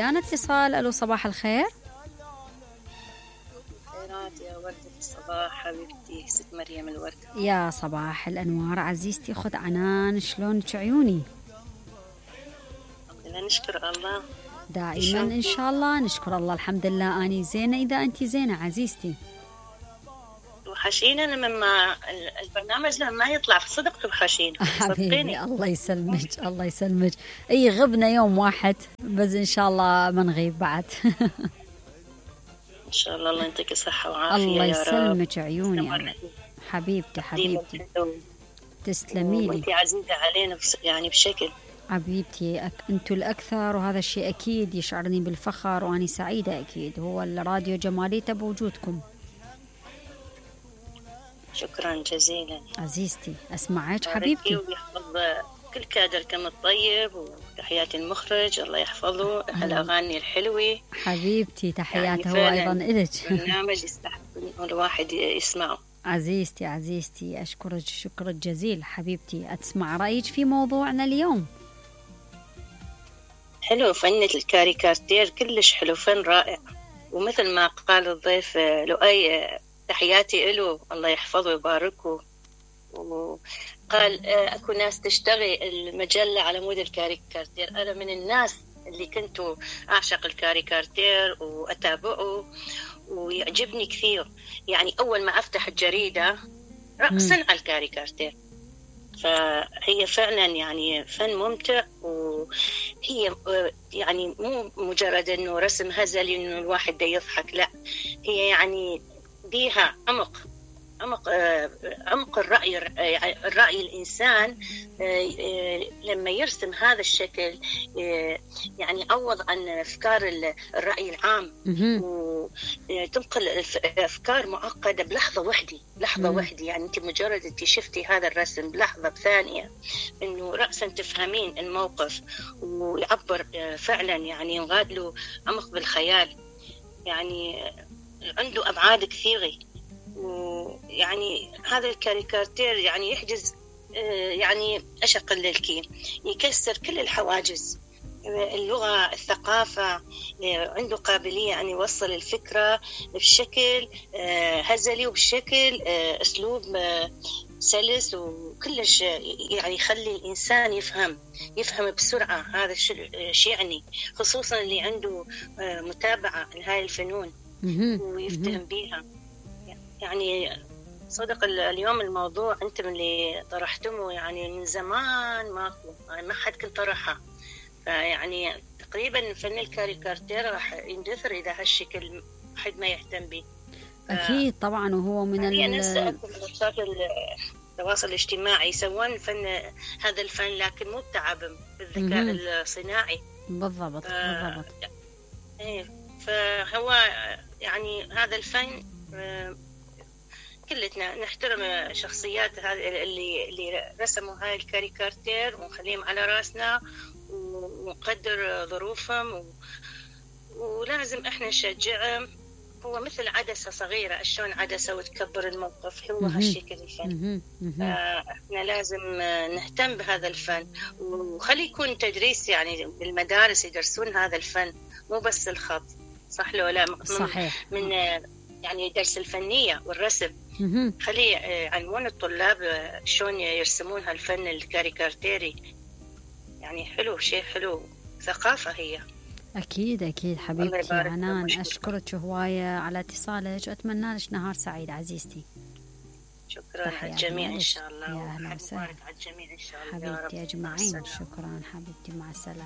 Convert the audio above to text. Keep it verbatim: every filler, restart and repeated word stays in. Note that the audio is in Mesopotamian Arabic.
ويانا اتصال. الو صباح الخير. خيرات يا وردة الصباح حبيبتي ست مريم الوردة. يا صباح الانوار عزيزتي، خذ عنان، شلونك عيوني؟ الحمد لله نشكر الله دائما ان شاء الله نشكر الله. الحمد لله اني زينه اذا انت زينه عزيزتي. توحشينا لما البرنامج لما ما يطلع صدق توحشينا. حبيبي الله يسلمك الله يسلمك. اي غبنا يوم واحد بس ان شاء الله ما نغيب بعد. ان شاء الله الله يعطيك الصحه وعافيه الله يا رب. يسلمك عيوني حبيبتي حبيبتي تسلمي لي. انت عزيزه علينا يعني بشكل. حبيبتي أك... انتوا الاكثر، وهذا الشيء اكيد يشعرني بالفخر واني سعيده. اكيد هو الراديو جماليته بوجودكم. شكرا جزيلا عزيزتي. اسمعك حبيبتي. ويحفظ كل كادركم الطيب، وتحياتي المخرج الله يحفظه. الاغاني الحلوه حبيبتي تحياته يعني هو ايضا الك. برنامج يستحق الواحد يسمعه. عزيزتي عزيزتي اشكرك شكر جزيل حبيبتي. اسمع رايك في موضوعنا اليوم. حلو فن الكاريكاتير كلش حلو، فن رائع. ومثل ما قال الضيف لؤي تحياتي له الله يحفظه ويباركه. وقال اكو ناس تشتغي المجله على مود الكاريكاتير. انا من الناس اللي كنت اعشق الكاريكاتير واتابعه ويعجبني كثير. يعني اول ما افتح الجريده رأسا على الكاريكاتير. فهي فعلا يعني فن ممتع، وهي يعني مو مجرد انه رسم هزلي انه الواحد دا يضحك، لا هي يعني بيها عمق عمق عمق الرأي الرأي الإنسان لما يرسم هذا الشكل يعني عوض عن أفكار الرأي العام، وتنقل أفكار معقدة بلحظة واحدة لحظة واحدة. يعني أنت مجرد أنت شفتي هذا الرسم بلحظة بثانية إنه رأسا تفهمين الموقف، ويعبر فعلا يعني ينغاد له عمق بالخيال. يعني عنده أبعاد كثيرة. ويعني هذا الكاريكاتير يعني يحجز يعني أشق الليلكي، يكسر كل الحواجز، اللغة الثقافة. عنده قابلية أن يوصل الفكرة بشكل هزلي وبشكل أسلوب سلس، وكلش يعني يخلي الإنسان يفهم يفهم بسرعة. هذا الشيء يعني خصوصا اللي عنده متابعة لهاي الفنون ويفتهم بيها. يعني صدق اليوم الموضوع أنتم اللي طرحتمه يعني من زمان ماكو، يعني ما حد كنت طرحها. يعني تقريبا فن الكاريكاتير راح يندثر إذا هالشكل حد ما يهتم به. أكيد طبعا. وهو من يعني ال نفس منصات التواصل الاجتماعي يسوون فن هذا الفن، لكن مو بتعب بالذكاء الصناعي. بالضبط بالضبط. إيه فهو يعني هذا الفن كلتنا نحترم شخصيات هذه اللي اللي رسموا هاي الكاريكاتير ونخليهم على راسنا ونقدر ظروفهم، و... ولازم احنا نشجعهم. هو مثل عدسة صغيرة، شلون عدسة وتكبر الموقف، هو هالشكل الفن. احنا لازم نهتم بهذا الفن، وخلي يكون تدريس يعني بالمدارس يدرسون هذا الفن، مو بس الخط. صح لو لا؟ صحيح. من يعني درس الفنية والرسم. خلي يعلمون الطلاب شلون يرسمون هالفن الكاريكاتيري. يعني حلو، شيء حلو، ثقافة هي. أكيد أكيد حبيبتي عنان. أشكرك هواية على اتصالك، وأتمنى لك نهار سعيد عزيزتي. شكرا على الجميع إن شاء الله. يا أهلا وسهلا على الجميع إن شاء الله حبيبتي أجمعين. شكرا حبيبتي، مع السلامة.